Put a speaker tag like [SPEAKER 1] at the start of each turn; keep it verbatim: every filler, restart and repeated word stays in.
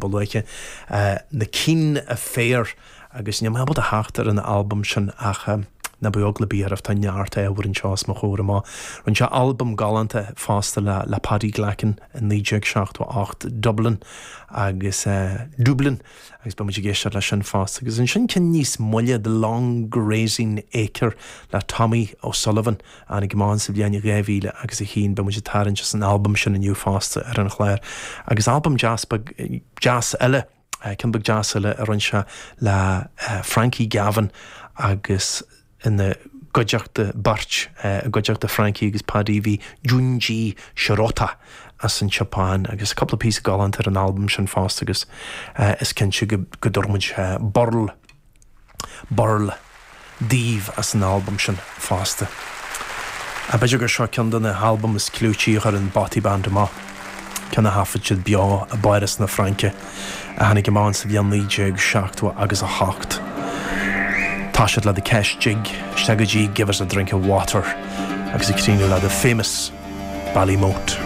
[SPEAKER 1] ba luaithe na Keane Affair agus níl mé ábalta theacht ar an albam sin ach ná bíodh eagla ar bith oraibh tá neart ábhar anseo os mo chomhair amach. Rinne sé albam galánta fosta le le Paddy Glackin in naoi déag seachtó a hocht Dublin agus uh, Dublin agus beidh muid ag éisteacht leis sin fosta agus ansin ceann níos moille The Long Grazing Acre le Tommy O'Sullivan an gmán sa bhliain dhá mhíle agus a haon beidh muid ag tarraingt as an albam sin inniu fosta ar an chlár agus albam deas deas eile ceann beag deas eile a rinne sé le Frankie Gavin agus ina gcuideachta beirt i gcuideachta Frankie agus Paddy bhí Junji Shirota as an tSeapáin agus cúpla píosa galánta ar an albam sin fosta agus is cinnte go go dtabharfaidh muid burl burl daoibh as an albam sin fosta. A b'fhéidir gur seo ceann de na halbaim is clúití a chuir an Bothy Band amach. Ceann a thaifead siad beo i bPáras na Fraince a tháinig amach sa bhliain naoi déag seachtó agus a hocht. Tá siad le The Kesh Jig isteach go dtí Give us a drink of water agus ag críochnú le the famous Ballymote.